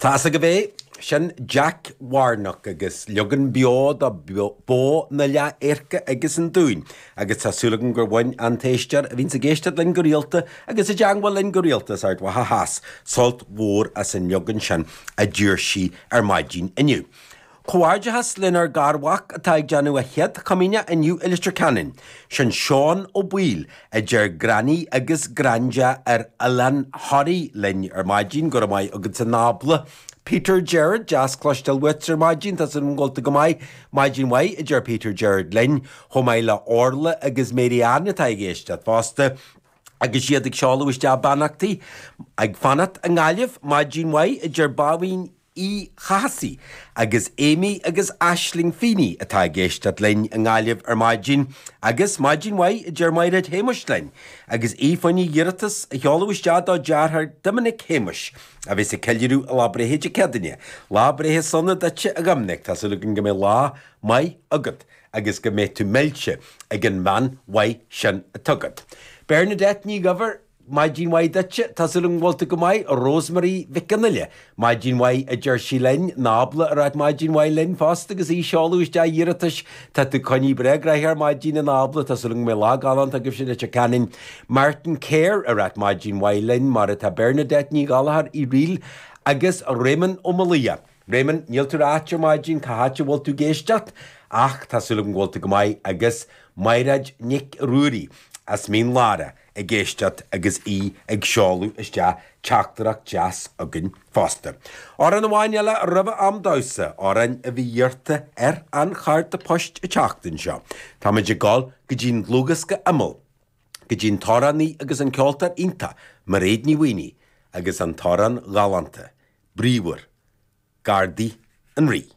Tá's agaibh é, sin Jack Warnock agus leagan beo de Bó na Leath-Adhairce agus an Dúin agus tá súil agam gur bhain an t-éisteoir a bhíonns ag éisteacht linn go rialta agus i dteangmháil linn go rialta as Ard Mhacha Theas sult mhór as an leagan sin a d'iarr sí ar maidin inniu. Comhghairdeachas lenár garmhac atá ag déanamh a chéad chomaoineach inniu i Leitir Ceanainn. Sin Seán Ó Baoill, a deir Granny agus Granda ar Oileán Thoraí linn ar maidin. Go raibh maith agatsa Nábla. Peter Gerard, deas cloisteáil uait ar maidin, tá súil agam go bhfuil tú go maith. Maidin mhaith, a deir Peter Gerard linn, chomh maith le Orla agus Mary Ann atá ag éisteacht fosta. Agus iad ag seoladh isteach beannachtaí ag fanacht i nGaillimh, maidin mhaith, a deir Báibhín Uí Chathasaigh agus Amy agus Aisling Feeney atá ag éisteacht linn i nGaillimh ar maidin agus maidin mhaith a deir Mairéad Shéamuis linn agus í fá choinne iarratas a sheoladh isteach dá deartháir Doiminic Shéamuis a bheas ag ceiliúradh a lá breithe Dé Céadaoine. Lá breithe sona duitse a Dhoiminic, tá súil againn go mbeidh lá maith agat agus go mbeidh tú millte ag an bhean mhaith sin atá agat. Bernadette Ní Dhuibhir. Maidin mhaith duitse, tá súil agam go bhfuil tú go maith. Rosemary Mhic Fhionnghaile, Maidin mhaith a deir sí linn. Nábla ag ráit maidin mhaith linn fosta agus í ag seoladh isteach iarratais. Tá tú coinnithe breá gnoitheach ar maidin a Nábla, tá súil agam go mbeidh lá galánta agaibhse i Leitir Ceanainn. Martin Kerr ag ráit maidin mhaith linn, mar atá Bernadette Ní Ghallchóir Uí Fhrighil agus Réamonn Ó Maolaodha. Réamonn, níl tú ag ráit ar maidin cá háit a bhfuil tú ag éisteacht ach tá súil agam go bhfuil tú go maith agus Mairéad Nic Ruairí as Mín Lárach ag éisteacht agus í ag seoladh isteach teachtaireacht deas chugainn fosta. Amhrán amháin eile roimh am damhsa, amhrán a bhí iarrta ar an chárta poist an tseachtain seo. Táimid ag dul go dtí an dlúthdhiosca Imeall, go dtí an t-amhránaí agus an ceoltóir iontach Mairéad Ní Mhaonaigh agus an t-amhrán galánta, bríomhar, Gardaí an Rí.